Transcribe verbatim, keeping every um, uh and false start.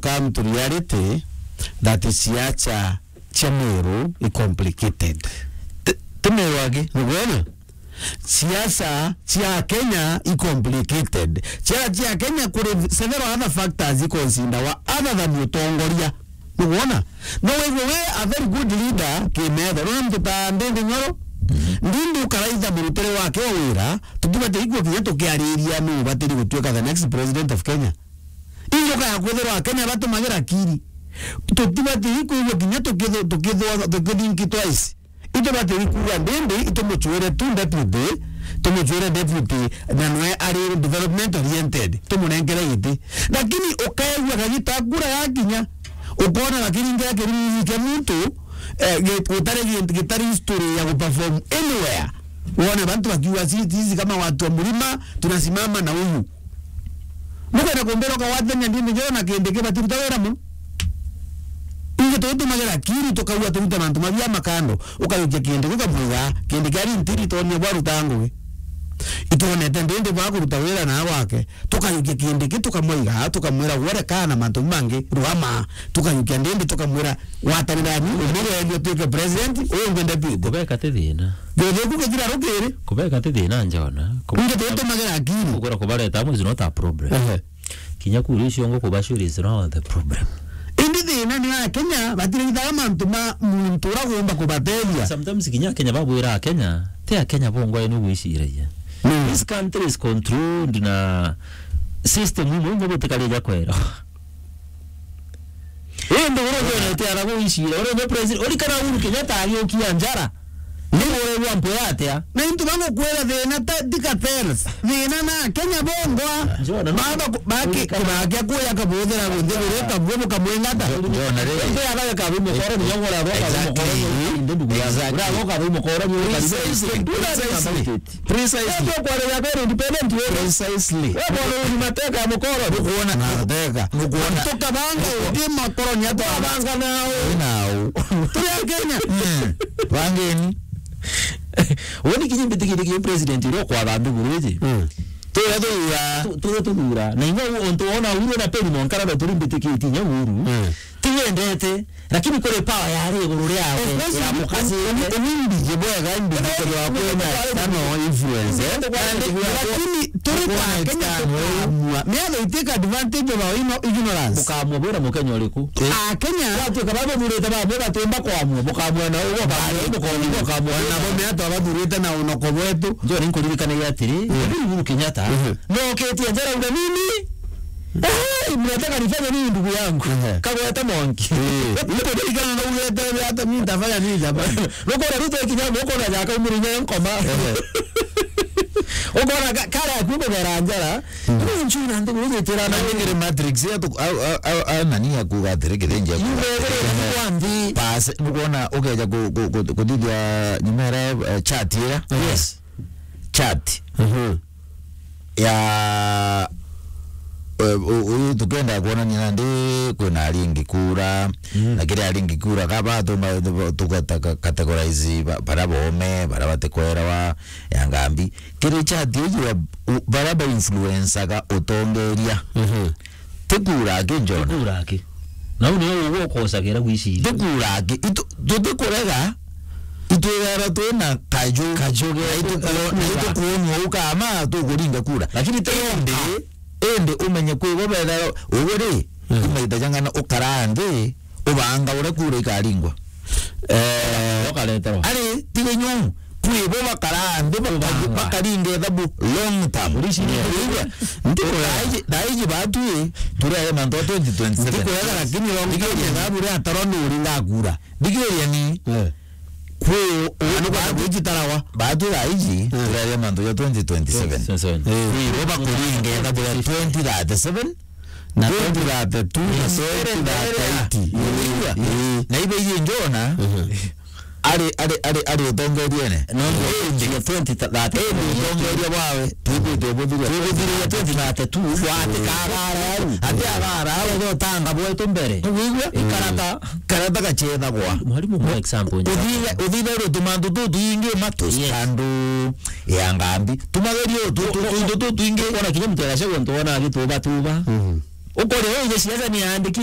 come to reality that siasa cia Meru i complicated. Ti, ti Meru aki, nukwona? Siasa cia Kenya i complicated. Siasa cia Kenya kuri several other factors ikonsindawa other than utongoria. Nukwona? No withwe we a very good leader kimetho. Nona muntu ta Ndindi Nyoro, Ndindi ukaraitha murutire wake wa wira, tutibati ikua kinya tukiariria nu ubatiri gutuika the next president of Kenya. Injoka ya kwithirwa Akenya batumagira akiri. Tutibati ikwigua kinya tukithu-, tukithwa-, tukithink twice. Itubati kuuga Ndindi itumuchwire tu deputy, tumuchwire deputy, na nwe ari development oriented, tumunenkere giti. Lakini ukaigua kagita kura yakinya, ukona lakini ngira kirungi kia muntu, eh, gi-, gitari gi-, gitari history ya guperform anywhere. Wone bantu bakiuga, "Si-, sisi kama watu wa mlima, tunasimama na huyu." Nukwenda kumbira ukagwatania Ndindi Nyoro na Kindiki batiruta wira mu? Ingi tutumagira akiri tukaua turuta mantu mabia makando, ukayukia Kindiki ukamwiga, Kindiki ari ntiri tonia bwa ruta ngugi. Itwonete Ndindi bwa kuruta wira na gwake, tukayukia Kindiki tukamwiga, tukamwira, "Wore kana mantu mangi, ruama." Tukayukia Ndindi tukamwira, "Gwatanira ni umwe wendi utuike president, uyu ungi deputy." Kubeka ti thina. Githiku githira rukiri. Kubeka ti thina njona. Ingi tutumagira akiri. Kugura kubareta amwe is not a problem. Ehe. Kinya kuru icio ngo kubashuri is not the problem. Indi thina ni Akenya batirithaga mantu ma muntu uria ugomba kubateethia. Sometimes kinya Akenya babwira Akenya, ti Akenya bongwa ni gwiciragia. Mm. This country is controlled na system imwe imwe butikarija kwera. Indi uria ujonete ara gwicira, uria ni president, urikana Uhuru Kenyatta agiukia njara. Ni uregwa mpoya atia? Na into bangukwira thina ta, ti cartels. Thina na Kenya bongwa. Njona, no. Baba ku-, baki-, urikana. Kibakia kuya kabuthira nthiguru kabua bukamwingata. Njona ri. Ndio abaga kabu mukoro, ni yongora roka mukoro. Exactly. Exactly. Ura roka mukoro, ni precisely. Precisely. Precisely. Ndio kwa ya kwenda independent wewe. Precisely. Wewe bwana ni mateka ya mukoro. Nukuona. Mateka. Nukuona. Tukabanga ndi makoro ni atu abanga nao. Nao. Turi Akenya. Mm. Bangeni. Woni kinyi mbitikirie ki president iro kwa thambi guruji. Mm. Tuya tuya. Tu-, tuya tuthura. Na inya untu wona uru na peri monkara na turi mbitikitie inya uru. Mm. Tiwendete. Lakini kuri power yari iguru riawe, ya mukasite. Umbiji bwega, imbiji kethirwa kwina external influence, eh? Lakini turi ta Kenya tukamua. Miatho itake advantage of our igno-, ignorance. Bukamua bwira Mukenya uriku? Eh. Akenya. Watuika babuthurite bamwe batimba kwamua, bukamua na ugo, bukamua na ugo, bukamua na ugo. Nabo miatho abathurite na unoko bwetu. Njo ninkuririkanagia atiri, Uhuru Kenyatta, noketie njara uga nini? Eh, mnataka nifanye nini ndugu yangu? Ehe. Kagwete monki. Eh, ito ndirikana na ugete hata mimi nitafanya nini jamani? Nukona Ruto ikinya mukona jaka umuri nye nkoma. Ehe. Ukona ka-, kara kuko gera njara. Mm. Ni njuna ndi guru gitira na ngere Matrix ya tu, au, au, au, au, nani ya kuga atiri kithinja. Yume gere kwandi. Pas, nukona ugeja ku, ku, ku, kuthithia nyumera, eh, chat ira. Yes. Chat. Mhm. Ya, eh, u-, uyu tukenda kuonania nandi kwina aringi kura, mm, na kiri aringi kura kaba tuma tuka-, taka-, categorize ba-, bara bome, bara batikwerewa, ya ngambi. Kiri chat iji ya u-, bara ba influencaga utongeria. Mhm. Ti kura aki, Njona. Ti kura aki. Na u niwe uguo ukosagira gwiciria. Ti kura aki. Itu-, tutikurega. Itwithagirwa twina kaju. Kaju getu. Na itukuo-, na itukuonua u kama tukuringa kura. Lakini ti indi, indi umenye kwi bo bethagirwa ugu ri, mm, imaita jang'ana ukaraa nthi, ubanga uria kura ikaringwa. Eh, ukareterwa. Ari, tiga nyu, kwi bo bakaraa nthi, baka-, ubanga, bakaringa ithabu long term. Uriciria. Urigwa? Nti, thaa iji, thaa iji batwi, turere mantu a twenty twenty-seven. Ntikwega, lakini long term ithabu ria tarwa nuri ngakura. Thigiria ni. Eh. Kwi u-, u-, batu-, batu thaa iji, eh, turaria mantu ja twenty twenty-seven. Twenty twenty-seven. Eh. Kwi bo bakuringa ithabu ria twenty thirty-seven, na twenty thirty-two, na twenty thirty-eight. Eh. Na ibe iji Njona, mhm, ari, ari, ari, ari utongeriene. No, indi, twenty thirty. Indi utongeria bwawe, twithite ubuthiria. Twibuthiria twenty thirty-two, gwatikagara au. Ati agara au, utanga bwetu mbere. Wigua? Ikarata. Karata gachethagwa. Mwalimu, kwa example, uthithe, uthithe uri tumantu tutuingi matu, yes, standu ya ngambi. Tumagerie utu, tu, tu, tu, tu, tuingi. Ona kinya mtu agacagwa ntu wona agituba tuba. Mhm. Ukore uyu siasa ni andiki